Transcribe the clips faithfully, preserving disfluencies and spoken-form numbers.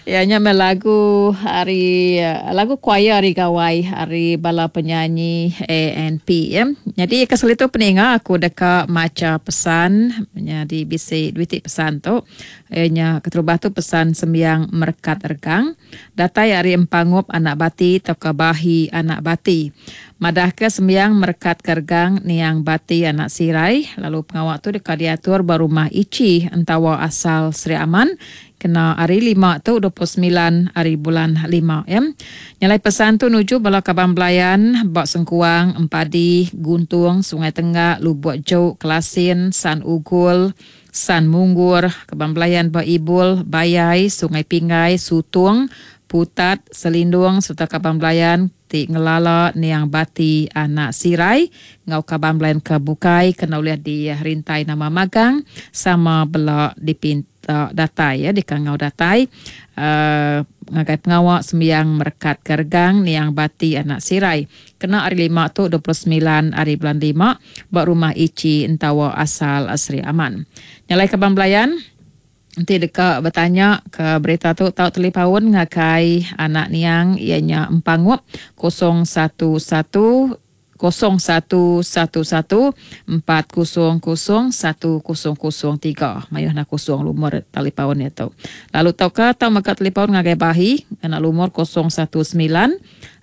Ya nya meh lagu ari lagu choir ari gawai ari bala penyanyi A N P ya. Nyadi ke sekali tu peninga aku deka macha pesan nyadi bisi dua iti pesan tu. Iya nya keterubah tu pesan sembiang merekat regang datai ari Empangup Anak Bati tauka Bahi Anak Bati. Madahka sembiang merekat ke regang niang Bati Anak Sirai lalu pengawa tu deka diatur ba rumah Ichi Entawa asal Sri Aman kena hari lima tu dua puluh semilan hari bulan lima ya. Nyalai pesan tu nuju bala kaban belayan ba Sengkuang, Empadi, Guntung, Sungai Tenggak, Lubuk Jok, Kelasin, San Ugul, San Munggur, kaban belayan ba Ibul, Bayai, Sungai Pinggai, Sutung, Putat, Selindung serta kaban belayan ti ngelala niang Bati Anak Sirai ngau kaban belayan ke bukai kena ulih dirintai nama magang sama bela dipinta datai ya dikangau datai uh, ngagai pengawa sembiang merekat ke regang niang Bati Anak Sirai kena hari lima tu dua puluh semilan hari bulan lima ba rumah Ichi Entawa asal Sri Aman. Nyalai kaban belayan enti deka bertanya ke berita tu tau telipaun ngagai anak niang ianya Empangup kosong satu satu kosong satu satu satu empat kosong kosong satu kosong kosong tiga. Mayuh nak kosong lumur talipaun ia tu. Lalu tauka tau mega talipaun ngagai Bahi kena lumur kosong satu sembilan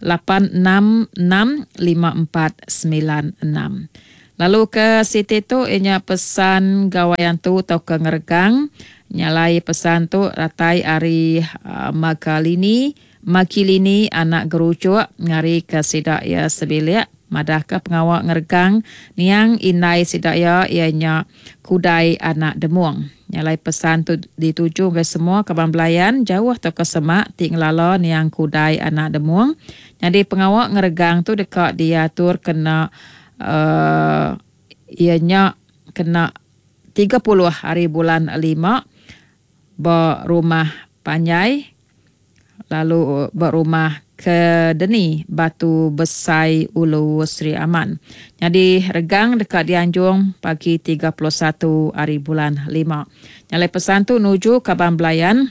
lapan enam enam lima empat sembilan enam. Lalu ke siti tu ianya pesan gawai antu tauka ngeregang. Nyalai pesan tu ratai ari uh, Magalini, Makilini anak gerucuk ngari ke sida ia sebilik madah ke pengawa ngeregang niang indai sida ia ianya Kudai anak Demung. Nyalai pesan tu dituju ke semua kaban belayan jauh atau ke semak ti ngelala niang Kudai anak Demung. Jadi pengawa ngeregang tu deka diatur kena uh, ianya kena tiga puluh hari bulan lima ba rumah Panjai lalu ba rumah Kedeni Batu Besai Ulu Sri Aman. Jadi regang dekat dianjung pagi tiga puluh satu hari bulan lima. Nyalai pesan tu nuju kaban belayan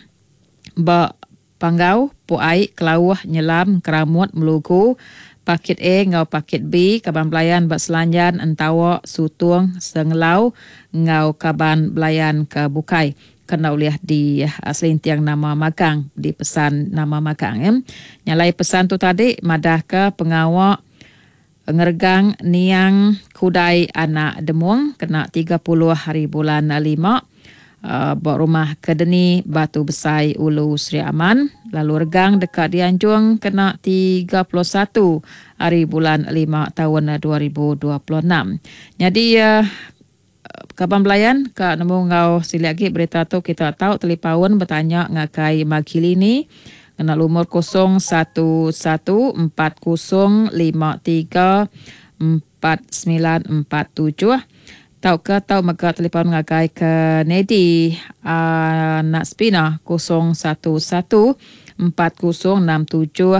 ba Panggau, Puai, Kelauh, Nyelam, Keramut, Melugu, Pakit A ngau Pakit B, kaban belayan ba Selanjan, Entawa, Sutung, Sengelau ngau kaban belayan ke bukai. Kena ulih di uh, selinting nama magang, di pesan nama magang. Ya. Nyalai pesan tu tadi madah ke pengawa ngeregang niang Kudai anak Demung kena tiga puluh hari bulan lima uh, ba rumah Kedeni Batu Besai Ulu Sri Aman. Lalu regang dekat dianjung kena tiga puluh satu hari bulan lima tahun dua ribu dua puluh enam. Jadi uh, kaban belayan ka nemu ngau silik lagi berita tu kita tahu telipaun bertanya ngagai Magilini kena lumur kosong satu satu empat kosong lima tiga empat sembilan empat tujuh tau ke tau mega telefon ngagai ke Nedi anak Spina kosong satu satu empat kosong enam tujuh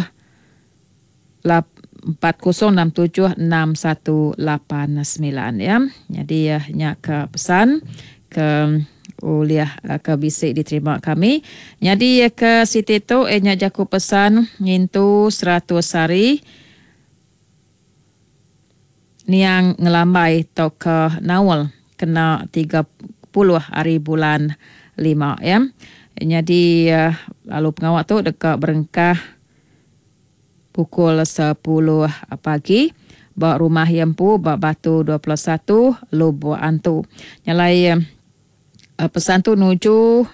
empat kosong enam tujuh enam satu lapan sembilan ya. Jadi ya nya ke pesan ke uliah ke bisik diterima kami. Jadi ke siti tu nya jaku pesan ngintu seratus hari niang ngelambai tauka naul kena tiga puluh hari bulan lima ya. Jadi lalu pengawak tu dekat berengkah pukul sepuluh pagi ba rumah Yempu ba Batu dua puluh satu Lubuk Antu. Nyalai pesan tu nuju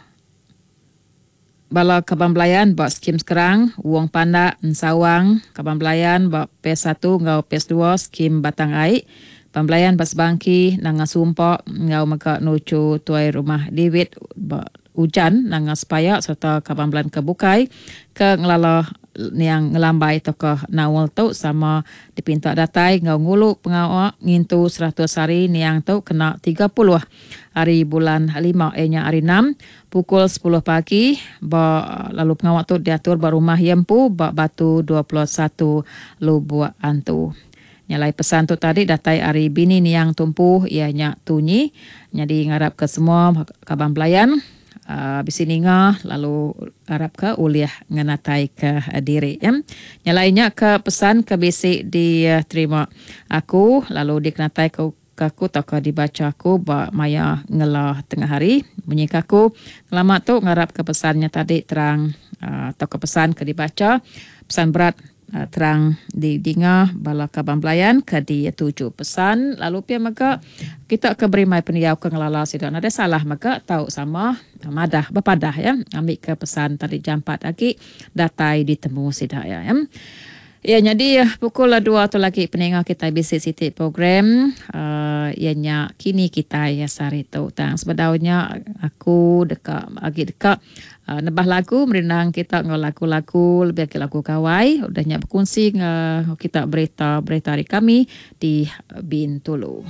bala kaban belayan ba skim sekarang Wong Pandak Ensawang, kaban belayan ba P satu ngau P dua skim Batang Ai, pembelayan ba Sebangki Nanga Sumpak ngau mega nuju tuai rumah Diwit ba Ujan Nanga Sepayak serta kaban belayan ke bukai ke ngelala niang ngelambai tokoh naul tu sama dipinta datai ngau ngulu pengawa ngintu seratus hari niang tu kena tiga puluh hari bulan lima ianya hari enam pukul sepuluh pagi ba lalu pengawa tu diatur ba rumah Yempu ba Batu dua puluh satu Lubuk Antu. Nyalai pesan tu tadi datai ari bini niang tumpu ianya Tunyi. Jadi ngarap ke semua kaban belayan uh, bisi ninga lalu arapka ulih ngenataika diri ya. Nya alai nya ke pesan ke bisi diterima aku lalu dikenataika ke aku tauka dibacha aku ba maya ngela tengah hari. Munyi ke aku ngelama tu ngarapka pesan nya tadi terang uh, tauka pesan ke dibacha pesan berat uh, terang didinga bala kaban belayan ke dituju pesan lalu pia mega kita ke berimbai pendiau ke ngelala sida nadai salah mega tau sama madah bepadah ya ambi ke pesan tadi jampat agi datai ditemu sida ya. Ya. Ya, jadi pukul dua tu lagi peninga kita bisi siti program uh, ianya kini kita ya sehari tu. Tang sebedaunya aku deka agi deka uh, nebah lagu merindang kita ngau lagu-lagu lebih ke lagu gawai udah nya berkongsi ngau kita berita-berita hari kami di Bintulu.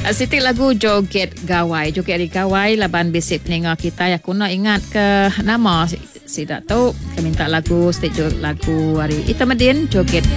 Siti lagu joget gawai, joget hari gawai laban bisi peninga kita aku nak ingat ke nama sida tu ke minta lagu siti lagu hari Ita Medin joget